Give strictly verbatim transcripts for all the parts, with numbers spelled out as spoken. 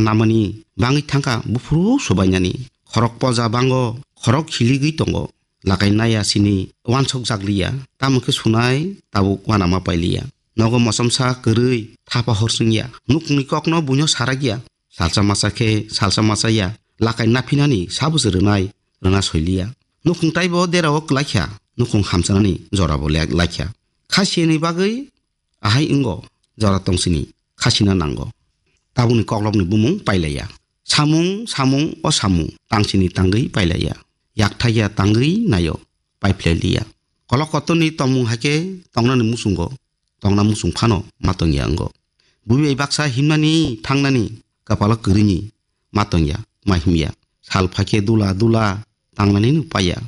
namani bangwi thangkha buphuru subainani. Khorok poja bango, khorok hiligwi tongo. Lakai naya sini wansok jakliya, tamo khe sunai tabuk wanama pailiya. Nogo mosomsa kwrwi thapa horsingya, nukhungni kokno buino sarakya. Salsa masa khe salsa masa ya, lakai naphinani sabusi rwnai, rwna soiliya. Nukhung taibo derao klaikha, nukhung hamchanani jorabo le-, laikha. Khasiyani bagwi ahai wngo, jora tongsini khasina nango. Tabukni koklopni bumung pailaiya. Samung, samung, o samung, tangsini tangwi pailaiya. Yakthaiya tangwi nayo, paiphlai liya. Kolok kotorni tongmung hai khe tongnani muchungo, tongna muchung phano ma tongya wngo. Buibai baksa himnani thangnani kapalo kwrwini ma tongya, ma himya. Sal phaikhe dula dula tangnaninw paiya.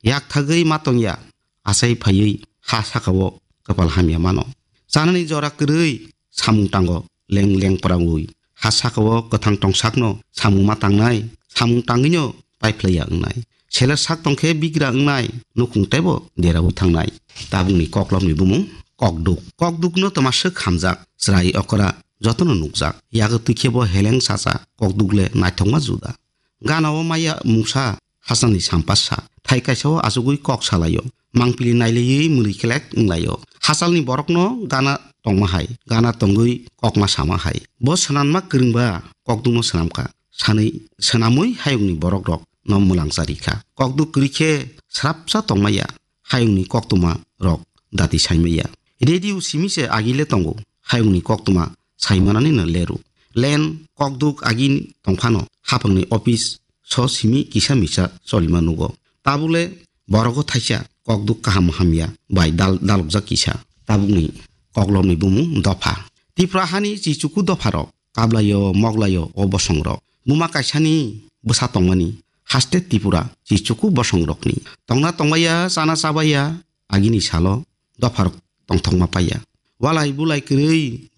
Yak thagwi ma tongya, achai phaiwi ha sakao kapal hamya mano. Chanani jora kwrwi samung tango leng leng pwrangwi. Ha sakao kwthang tongsakno samung ma tangnai, samung tangwino paiphlaiya wngnai. Seler sak tongkhe bigra wngnai, nukhung teibo derawi thangnai. Tabukni koklopni bumung kokduk. Kokdukno twma swk hamjak, chwrai okra jotono nukjak. Yago twikhebo heleng sacha, kokduk le naithokma juda. Gana o maya mungsa hachani sampasa. Thai kaisa o achugwi kok salaio. Mangpili naileiwi mwrwi kelek wnglaio. Hachalni borokno gana tongma hai, gana tongwi kokma sama hai. Bo swnanma kwrwngba kokdukno swnamkha. Sanwi swnamwi hayungni borok rok no mwlang charikha. Kokduk kwrwi khe srapsa tongmaya hayungni koktwma rok dati saimaya. Radio simi se agile tongo hayungni koktwma saimanani no leru. Len kokduk agini tongphano haphangni office so simi kisa misa cholima nugo. Tabule borogo thaisa kokduk kaham hamya bai dal-, dalokjak kisa. Tabukni koklopni bumung dopha. Tipra hani chichuku dopharok kablaio, moglaio o bosongrok. Buma kaisani bwsa tongmani haste Tripura chichuku bosongrokni. Tongna tongmaya, chana chabaya agini salo dopharok tongthokma paiya. Walai bulai kwrwi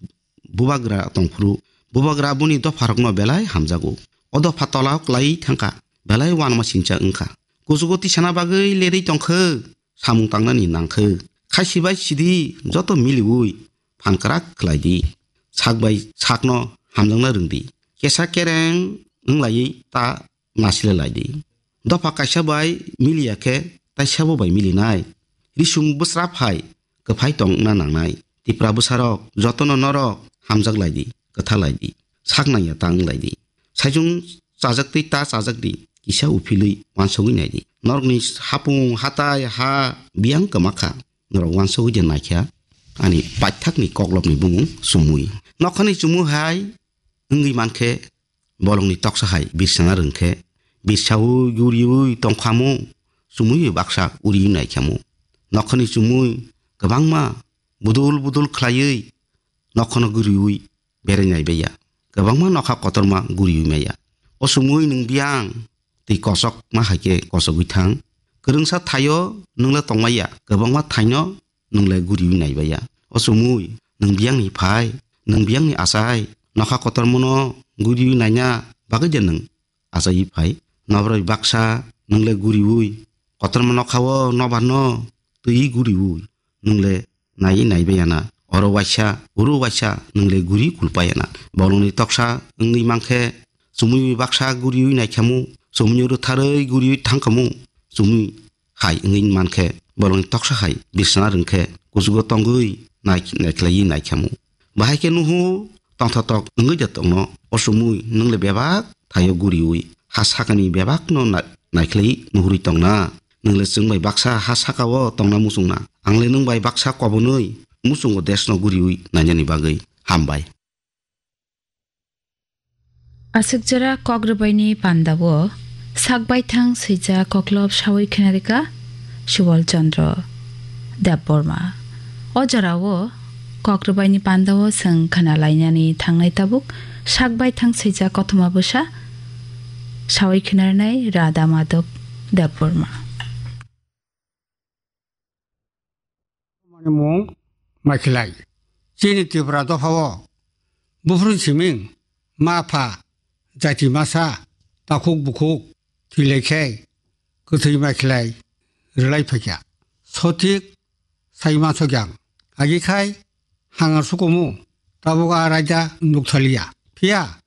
bubagra tongphuru, bubagra boni dopharokno belai hamjago. O dopha tolao klai thangkha, belai wanma sincha wngkha. Kuchugo tisana bagwi lerwi tongkhe, samung tangnani nangkhe. Khaisi bai sidi joto miliwi phan kwrak khlai di. Sak bai sakno hamjakna rwng di. Kesa kereng wnglaiwi ta nasile lai di. Dopha kaisa bai miliya khe taisabo bai milinai. Risung bwsra phai kwphai tongna nangnai. Tipra bwsarok jotono norok hamjak lai di, kwtha lai di, sak nangya ta wng lai di. Saichung chajak twi ta chajak di, kisa uphilwi wansogwi nai di. Norokni hapung hatai ha biyang kwma kha, norok wansogwi de naikha ani paithakni koklopni bumung chumui. Nokhani chumui hai wngwi mankhe bolongni toksa hai birsana rwngkhe, birsaui guriui tongkhamu, chumui baksa uriui naikhamu. Nokhani chumui kwbangma budul budul khlaiwi nokhano guriui berai naibaiya. Kwbangma nokha kotorma guriui maya. O chumui nwng biyang twi kosokma hai khe kosogwi thang. Kwrwngsa thaio nwng le tongmaya, kwbangma thaino nwng le guriui naibaiya. O chumui, nwng biyangni phai, nwng biyangni achai, nokha kotormano guriui naina bagwi de nwng achaiwi phai? Nobroi baksa nwng le guriui, kotorma nokhao nobarno twiwi guriui, nwng le naiwi naibaiya na. Oro waisa, uro waisa, nwng le guri kulpaiya na. Bolongni toksa wngwi mankhe, chumui baksa guriui naikhamu, chumui rwtharwi guriui thangkhamu, chumui hai wngwi mankhe, bolongni toksa hai birsana rwngkhe, kuchugo tongwi nai-, naikhlaiwi naikhamu. Bahai khe nuhu tongthotok wngwi de tongno, o chumui nwng le bebak thaio guriui, ha sakani bebakno na-, naikhlaiwi nuhurwi tongna. Nwng le chwng bai baksa ha sakao tongna muchungna. Ang le nwng bai baksa kobonwi muchungo desno guriui nainani bagwi. Hambai. Aswk jora kok rwbaini pandao sak baithang swijak koklop saui khna rwkha Subal Chandra Debbarma. O jorao kok rwbaini pandao chwng khna lainani thangnai tabuk sak baithang swijak kothoma bwsa saui khna rwnai Radha Madhab Debbarma. Mani mung Maikhlai. Chini Tripura dophao buphuru siming, ma pha, jati masa, takhuk bukhuk, thwilaikhe, kwthwi Maikhlai rwlai phaikha. Sothik sai mansokya. Agikhai hangar sukumu, tabuk a raida nukthaliya. Phiya